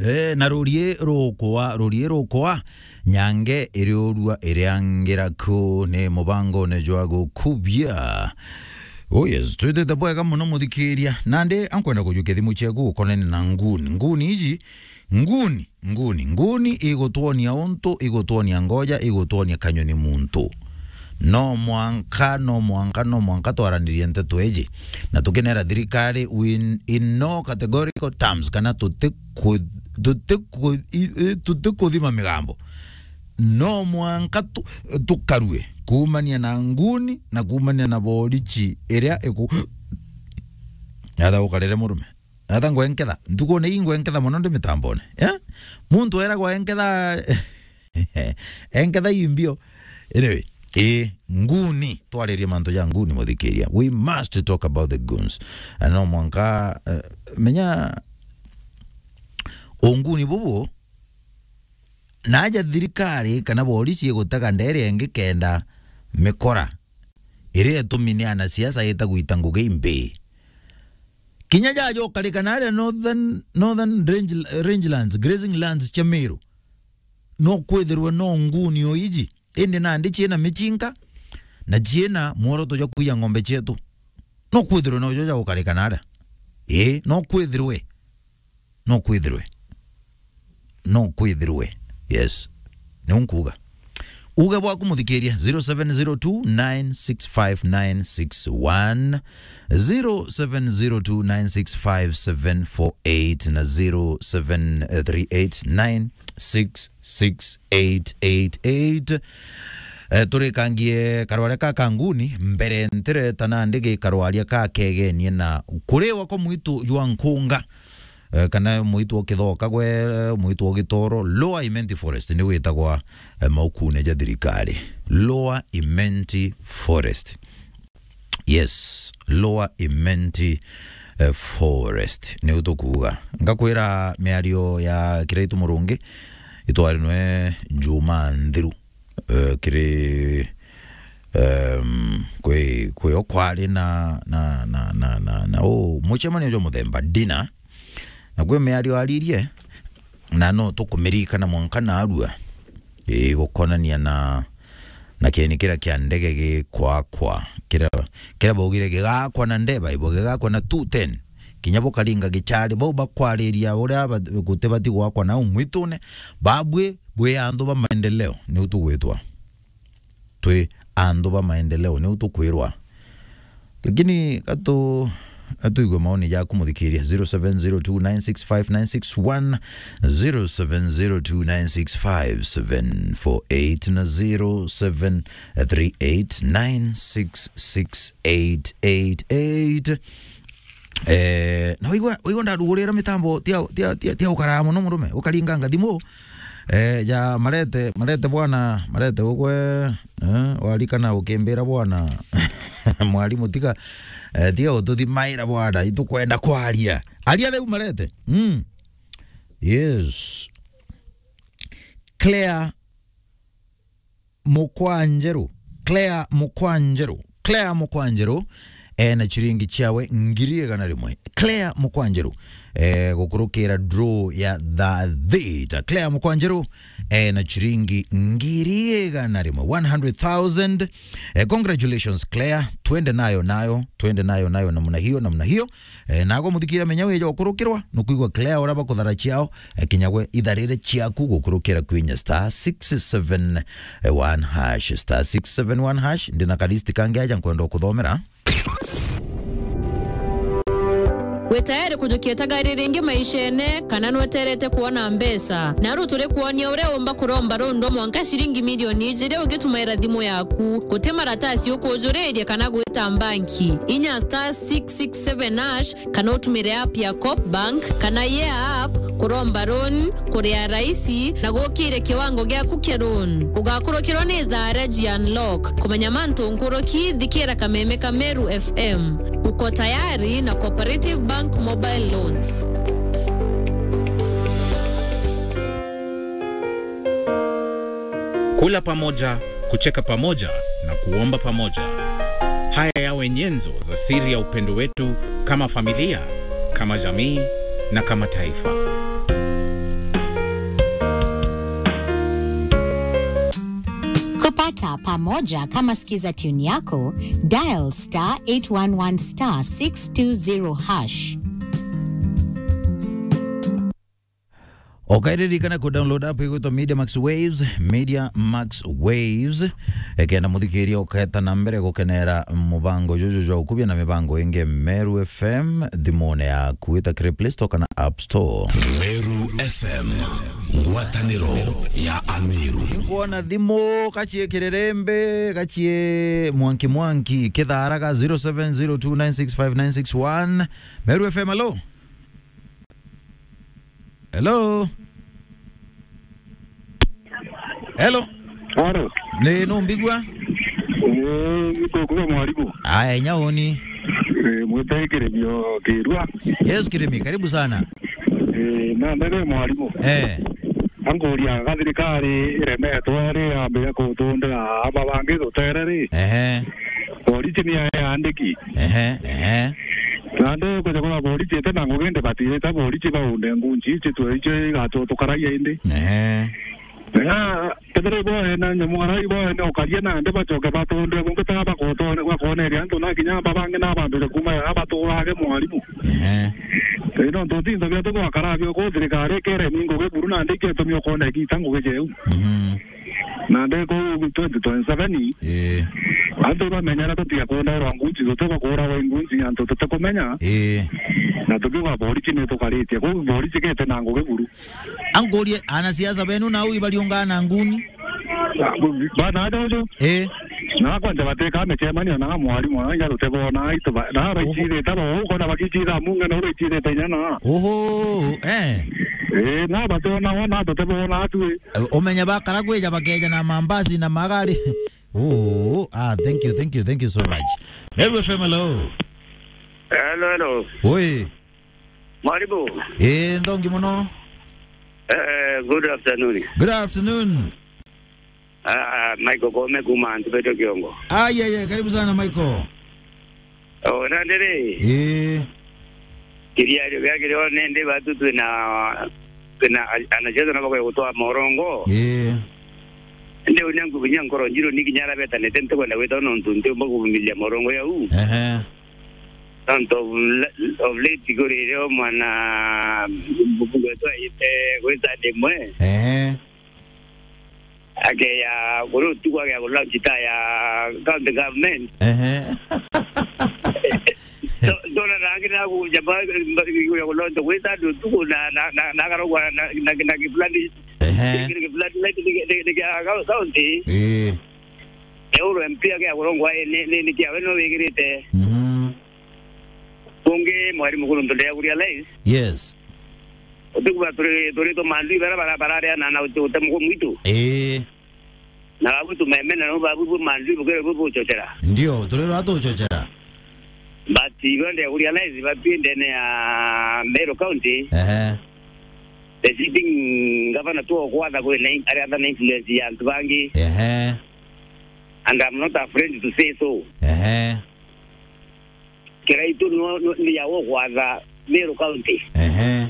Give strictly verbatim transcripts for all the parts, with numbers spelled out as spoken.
Eh, na rurie rukwa, rurie rukwa, nyange iriurua iriangira ku ni mubangone jwa gukubia. Oh yes, twitite bwega muno muthikiria. Nandi ankwenda kujukia thimu ciaku ukonene na nguni. Nguni iji, nguni, nguni, nguni igutwonia untu, igutwonia ngoja, igutwonia kanyoni muntu. No mwanka, no mwanka, no mwanka twaranirie nteto iji. Na tukinera thirikari in, in no categorical terms, kana tutiku-, tutiku-, i-, i-, tutikuthima migambo. No mwanka tu-, tukarue kuumania na nguni na kuumania na borichi iria iku-, atha ukarire murume. Atha ngwenketha. Ntukune ii ngwenketha mono ndi mitambone. Eh? Muntu eragwa enketha, enketha ii mbio. Anyway, eh, nguni. Twaririe mantu ja nguni, muthikiria. We must talk about the goons. Na no mwanka, eh, menya unguni bubu, naja thirikari kana borichi igutega ndere ingi kenda mikora iria itumi ni anasiasa ita gwita ngugi imbi. Kinya jaja ukarika naria Northern, Northern Range, Range Lands, grazing lands cia Meru, no kwithirwe no nguni o iji, indi nandi ciina michinka na ciina mworoto jwa kwiya ng'ombe cietu. No kwithirwe no jo ja ukarika naria. Ii, no kwithirwe. No kwithirwe. No kwithirwe. Yes. Ni unkuga. Uge bwaku muthikiria, zero seven zero two nine six five nine six one, zero seven zero two nine six five seven four eight na zero seven three eight nine six six eight eight eight. Eh, turikangie karwaria ka kanguni mbere ntireta nandi gikarwaria ka kegenie na kuriwa kwa mwitu jwa nkunga. Eh, kana mwitu o kithoka gwe, eh, mwitu o gitoro, Lower Imenti Forest ni witagwa, eh, maukune ja thirikari. Lower Imenti Forest. Yes, Lower Imenti, eh, Forest. Niu tukuuga. Ngakwira miario ya Kiraitu Murungi, itwarinwe Juma nthiru. Eh, kiri, em, kwi, kwi o kwari na, na, na, na, na, na u mucemanio jwa muthemba dinner, na kwi miario aririe, na no tukumirikana mwanka narua, ii, gukonania na, na kieni kiria kia ndege gikwakwa, kiria, kiria baugire gigakwa na ndeba ibo, gigakwa na two ten, kinya bukaringa gichari, bau bakwariria uria ba-, gutibati gwakwa nau mwitune, babwi bwi anthu ba maendeleo, niu tugwitwa. Twi anthu ba maendeleo, niu tukwirwa. Lakini gatu, gatuigue maoni jaku muthikiria, zero seven zero two nine six five nine six one, zero seven zero two nine six five seven four eight na zero seven three eight nine six six eight eight eight. Eh, na waigua, waigua ndarugurira mitambo, tia, tia, tia, tia ukaraa muno murume, ukaringanga thimu. Eh, ja Marete, Marete bwana, Marete ugwe, eh, warikana ukimbira bwana. Mwarimu tiga, eh, tiga ututhimaira bwana, itukwenda kwaria. Aria riu Marete. Mm. Yes. Claire Mukwanjeru, Claire Mukwanjeru, Claire Mukwanjeru, eh, na chiringi chiawe ngiri igana rimwe. Claire Mukwanjeru, eh, gukurukira draw ya thaa thita. Claire Mukwanjeru, eh, na chiringi ngiri igana rimwe, one hundred thousand. Eh, congratulations, Claire. Twende nayo, nayo, twende nayo, nayo, namna hiyo, namna hiyo. Eh, nago muthikira menya wija ukurukirwa, nukwigua Claire uria bakuthara ciao, eh, kinya gwe itharire ciaku gukurukira kwinya star six seven one hash, star six seven one hash, ndina ka list kangi aja nkwenda ukuthomera. Wi tayari kujukia tagari ringi maishene, kana nweterete kuona mbeca? Naru turi kuonia uria umba kuromba rundu mwanka ciringi milioni ijiri ugitumaira thimu yaku. Guti maratasi ukujuriria kana gwita mbanki. Inya star six six seven hash, kana utumire app ya Coop Bank kana Yeah app kuromba loan, kuria raisi na gukire kiwango giaku kia loan. Ugakurukirwa ni thaa ria ji unlock. Kumenya mantu nkuruki, thikira kameme ka Meru F M. Uko tayari na Cooperative Bank Mobile Loans. Kula pamoja, kucheka pamoja na kuomba pamoja. Haya yawe nyenzo za siri ya upendo wetu kama familia, kama jamii na kama taifa. Pata pamoja kama skiza tune yako, dial star eight one one star six two zero hash. Okairirikana ku download app igwitwa Media Max Waves, Media Max Waves. Ekenda muthikiria uketa na mbere gukenera mubango juju jwa ukubia na mibango ingi Meru F M thimune yaku, ita kiri Play Store kana App Store. Meru F M, ngwataniro ya Ameru. Nkuona thimu, gachie kirerembe, gachie mwanki mwanki, kitharaga zero seven zero two nine six five nine six one. Meru F M, hello? Hello? Hello? Haro. Ni numbigua? Eh, nikukuga mwarimu. Aya, nyauni. Eh, mwite Kirimi o Kirua. Yes, Kirimi, karibu sana. Eh, na ndere mwarimu. Eh. Ankuria ga thirikari iremetwe ari ambire kutundira aba bangi rutere ri. Ehe. Boriti ni ayandiki. Ehe, ehe. Na ndi kuja kwa boriti ite na ngugi ndi batirite boriti baunde ngunji ici twe icio igatutukaragia indi. Ehe. Na kethira ibo ene nyamu ara ibo ene ukaria na ndi bacoke batundire bungi ta bakotone bakoneria antu na kinya aba bangi na bambire kuma ya baturage mwarimu. Ehe. Ino ntu tinto bia tu gwakara bio ku thirikari kere ni ngugi buru na ndi ketumi ukone gita ngugi jeu. Mhm. Na nde kuu twenty twenty-seven, eh, antu bamenyera tutiga kundairwa ngunji, tuti bakuuragwa i ngunji, antu tutikumenya. Eh. Na tukiuga boriti ni tukaritie. Kuu boriti gete na ngugi buru. Ankurie, anasiasa benu nau ibariungaa na nguni? Bana aja uju. Eh. Na kwanja bateka micemanio na mwarimu, na inya tutebona, itu ba-, na Oho. Baicirite bo, ukona bakicira munga na baicirite inya na. Oho, eh. Eh, na batona, na tutebona atue. Eh, umenye bakara kwija bakeja na mambasi na magari. Oh, ah, thank you, thank you, thank you so much. Meru F M, hello. Hello, hello. Oi. Mwarimu. Eh, nthongi muno. Eh, good afternoon. Good afternoon. Ah, Michael Kome kuma Antu Beto Kiongo. Ah, yeah, yeah, karibu sana Michael. Oh, na ndiri. Eh. Kiriario gia kirio nende batu twina, twina anacheza na bakwe gutwa morongo. Eh. Nde unya ngubinya nkoro njiro ni kinya ara betanite ntikwenda gwita nontu ntiumba kuvumilia morongo yau. Ehe. Nontu of la-, of late kuri rio mwana mbuku wetu aite gwita ndimwe. Ehe. Akeya kuri utuku akeya ku launch ta ya county government. Ehe. So, ndona nangi na ku jaba, ya ku launch gwita ndu utuku na, na, na, na karogwa na, na, na kifulani. Ehe. Kifulani na ki-, ki-, ki-, ki-, ya county. Eh. Euro M P akeya kurongwa, eh, ni, ni, ni kiawe no wigirite. Mhm. Kungi mwarimu kuru ntu ndia kuria live. Yes. Utigwa turi, turi to mandui bara, bara, bara ria na, na uti-, utemu kwa mwitu. Eh. Na babu tumemena no babu bu mandui bukere bu buchochera. Ndio, turi rwa tuchochera. But ibo ndia kuria live, batu ndene ya Meru County. Ehe. The sitting governor tu kwatha kuri na in-, ari atha na influence ya antu bangi. Ehe. And I'm not afraid to say so. Ehe. Kiraitu no, no, ni ya ukwatha Meru County. Ehe.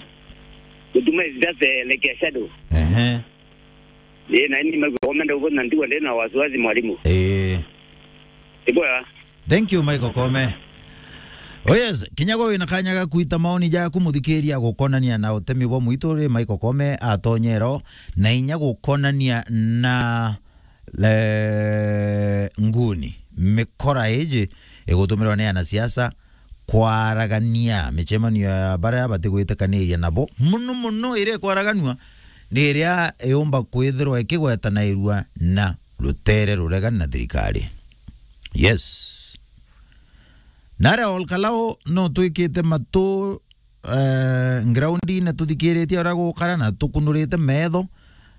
Gutuma is just, eh, like a shadow. Ehe. Eh, na ni magomenda ugo na ndigwa ndina wasiwasi mwalimu. Eh. Iboya. Thank you, Michael Kome. Oh yes, kinya gwe wina kanya ga kwita maoni jaku muthikiria gukonania na utemi bwa mwitu ri Michael Kome atonyero na inya gukonania na le-, nguni, mikora iji igutumirwa ni anasiasa kwaragania micemanio ya baria batigwitikaniria nabo, muno muno iria ikwaraganua ni iria yumba kwithirwa ikigwetanairua na rutere ruregani na thirikari. Yes. Naria Olkalao no twikite matu eh, groundine tuthikiritie uria gukara na tukunurite metho,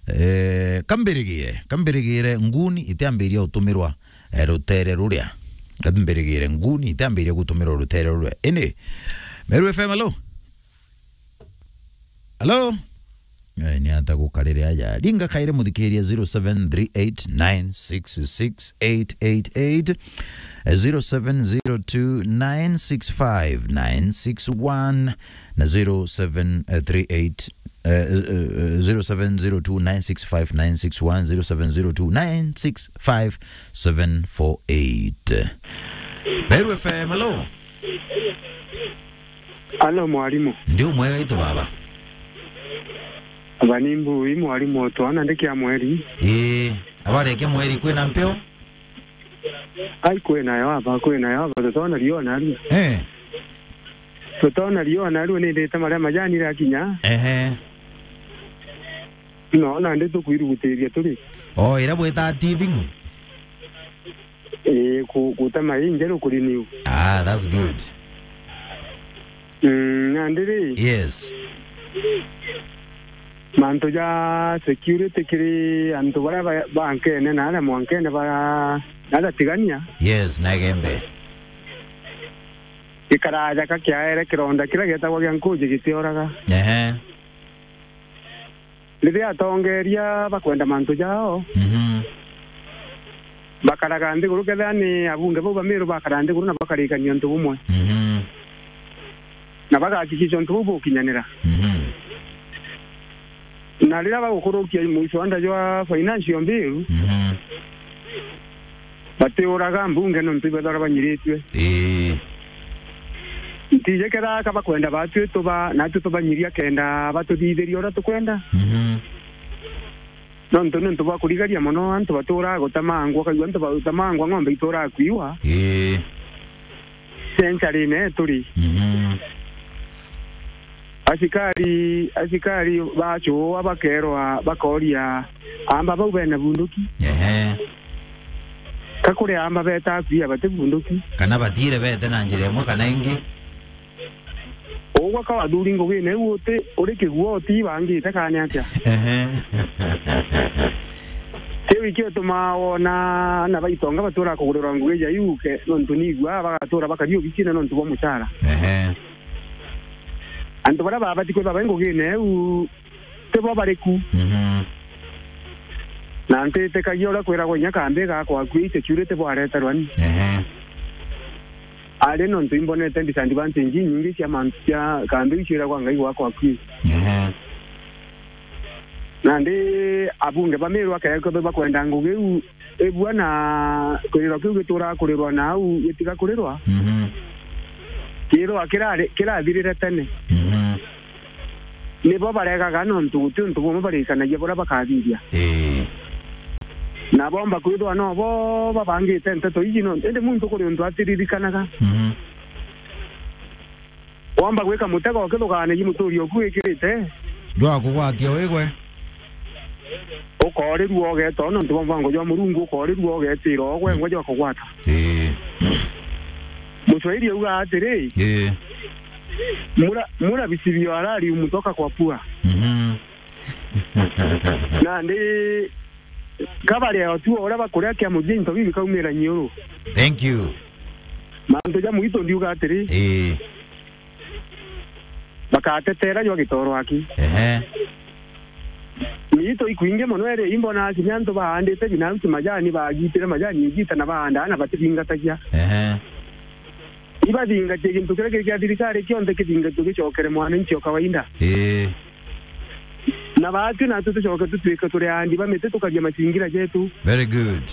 eh, kambirigire, kambirigire nguni itiambiria utumirwa, eh, rutere ruria. Kambirigire nguni itiambiria gutumirwa rutere ruria. Ini, Meru F M, hello? Hello? Eh, ni ata gukarire aja. Ringa kaire muthikiria zero seven three eight nine six six eight eight eight, eh, zero seven zero two nine six five nine six one na zero seven three eight eh, eh, eh, zero seven zero two nine six five nine six one, zero seven zero two nine six five seven four eight. Meru F M, hello. Alo, mwarimu. Ndi umwega itu baba. Aba ni Mbui, mwarimu, twana ndikia mweri. Ii, abarekia mweri kwina mpeo? Ai, kwinayo aba, kwinayo aba, tutona riona riu. Eh. Tutona riona riu, nindite maria majani irakinya. Ehe. No, nandi tukwirugutiria turi. O, ira bwita thieving? Ii, ku-, gutema injeru kuri new. Ah, that's good. Mm, nandi ri? Yes. Mantu ja security kiri antu baria ba-, bankene na aria mwankene ba-, na aria tigania. Yes, na Igembe. Gikaraja ka kiaere kironda kiria gietagwa gia nkuji gitioraga. Ehe. Riria atongeria bakwenda mantu jao, Mhm. bakaraga nthiguru, kethira ni abunge bau ba Meru bakara nthiguru na bakarikania untu bumwe. Mhm. Na bagakikisha untu bau bukinyanira. Mhm. Na riria bagukurukia muswada jwa financial bill, Mhm. batiuraga mbunge nontu ibethagirwa banyiritue. Ii. Ntiji kethira ka bakwenda batwi tuba, natwi tubanyiria kenda batuthithiria uria tukwenda. Mhm. Nontu ni untu bwa kurigaria mono, antu batuuraga gutemangwa, ukaigua antu bagutemangwa, ng'ombe ituuraga kwiwa. Ii. Century-ine turi. Mhm. Asikari, asikari bacua bakerwa, bakoria amba bau bena bunduki. Ehe. Ka kuri amba beta kuia bati bunduki. Kana batire bete na njira imwe kana ingi. Ugwa ka wathuri ngugine iu uti, uri kigua uti bangite kana atia? Ehe. Kiu ikio tumaa wona ana baitonga batura kugurirwa ngugi ja iu ke, nontu nigua bagatuura bakari obicine nontu bwa mucara. Ehe. Antu baria babati kwithirwa bai ngugine iu, ti bo bari ku. Mhm. Na ntitikagia uria kwiragwa inya kambi gakwa akui security bwareterwa ni. Ehe. Ari nontu imbonete disadvantage inyingi cia mantu cia kambi iu ciiragwa Ngai gwakwa akui. Ehe. Nandi abunge ba Meru akethirwa bakwenda ngugi iu ibua na kiriro kiu gituraa kurirwa na au gitiga kurirwa. Mhm. Kirwa kirari-, kirathirire tene. Mhm. Nibo baregaga nontu guti untu bumwe barikanagia buria bakathithia. Ii. Na bomba kwithwa no bo babangite nteto iji no, indi muntu kuri untu atiririkanaga. Mhm. Womba gwika mutego ukithuganagia muturi oku wikirite. Jwa kugwatia wigwe. Ukorirua ugeeta nontu bwa mwango jwa Murungu, ukorirua ugeetira ugwe ngwa jwa kugwata. Ii. Muswahili auga atiri, Ii. "Mula, mula visivyo halali humtoka kwa pua." Mhm. Nandi kabari ya otua uria bakuria kia mujinto bibi kaumira nyiuru. Thank you. Mantu ja muito ndiuga atiri, Ii. Bakatetera jwa gitoro aki. Ehe. Miito ikwingi mono eri imbona kinya antu baandite binafsi majani, bagitire majani igita na baandaa na batithingatagia. Ehe. Ibathingatie gintu kiria kiri kia thirikari kionthe kithingatue gicokere mwananchi o kawaida. Ii. Na baatwi natwi tucoke tutuike turi aandi ba miti tukagia macingira jetu. Very good.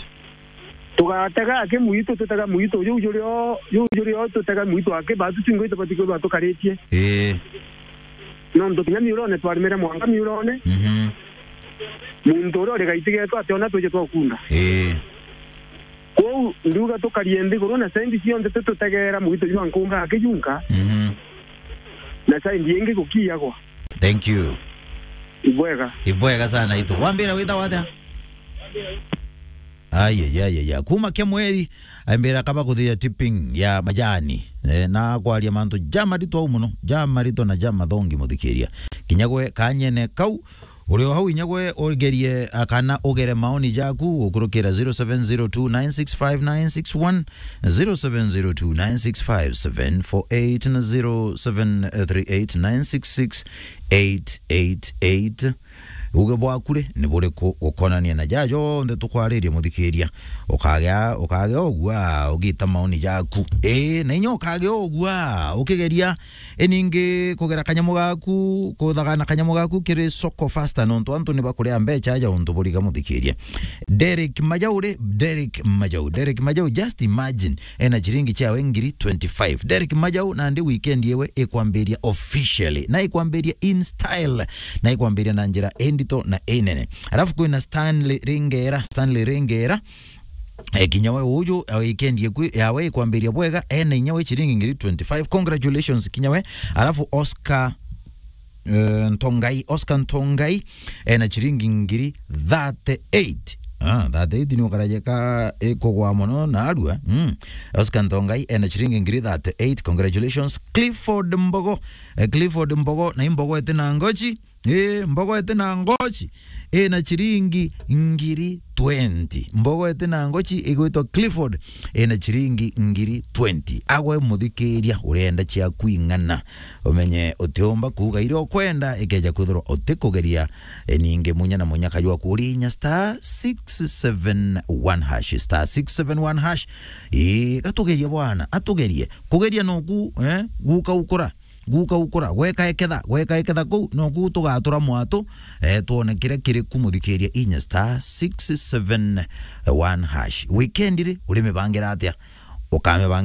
Tugatega aki muito, tutega muito, juu juri o, juu juri o, tutega muito aki, baatu twingi tubati kwithirwa tukaritie. Ii. Nontu kinya miurone twarimire mwanga miurone. Mhm. Muntu uria uri gaiti getu ationa twije twakunda. Ii. Kwou ndiuga tukarie nthiguru na sendi cionthe tututegeera muito jwa nkunga akijunka. Mhm. Na sendi ingi gukiagwa. Thank you. Ibwega. Ibwega sana itu. Wambira witagwa atia? Ayayayaya. Kuma kia mweri, aimbira kaba kuthia tipping ya majani. Eh, na kwaria mantu jamaritwa au muno, jamaritwa na jamathongi muthikiria. Kinya gwe kanyene kau, uri o hau inya gwe ugerie, ah, kana ugere maoni jaku gukurukira zero seven zero two nine six five nine six one, zero seven zero two nine six five seven four eight na zero seven three eight nine six six eight eight eight. Uge bwaku ri ni buriku gukonania na jaja jonthe tukwaririe, muthikiria? Ukagea, ukagea ugua ugita maoni jaku. Ii, na inya ukagea ugua ukigeria, iningi kugera kanyamu gaku, kuthagana kanyamu gaku kiri Soko Fasta, nontu antu ni bakuria mbecha ja untu buriga, muthikiria. Derek Majau ri, Derek Majau, Derek Majau, just imagine, ena chiringi chiawe ngiri twenty-five. Derek Majau, nandi weekend yewe ikwambiria officially, na ikwambiria in style, na ikwambiria na njira indito na inene. Alafu kwina Stanley Ringera, Stanley Ringera, eh, kinya we uju, eh, weekend yeku, yawe ikwambiria bwega, ena inya we chiringi ngiri twenty-five. Congratulations kinya we. Alafu Oscar eh, Ntongai, Oscar Ntongai, ena chiringi ngiri thirty-eight. Ah, thirty-eight ni ukarajeka ikugwa mono na arua. Mm. Oscar Ntongai, ena chiringi ngiri thirty-eight. Congratulations. Clifford Mbogo, eh, Clifford Mbogo, na imbogo ete na ngochi. Eh, mbogo ete na ngochi. Ena chiringi ngiri twenty. Mbogo ete na ngochi igwitwa Clifford, ena chiringi ngiri twenty. Agwe muthikiria, urenda cia kwing'ana, umenye utiumba kuuga iria ukwenda, ikeja kwithirwa utikugeria, e, ningi munya na munya kajwa kuria inya star six seven one hash, star six seven one hash. Ii, gatugerie bwana, atugerie. Kugeria noku, eh, guka ukura, guka ukura, gweka eketha, gweka eketha kuu, noku tugatura mwatu, eh, twone kiria kiri ku, muthikiria, inya star six seven one hash. Weekend ri, urimibangira atia? Ukamibangira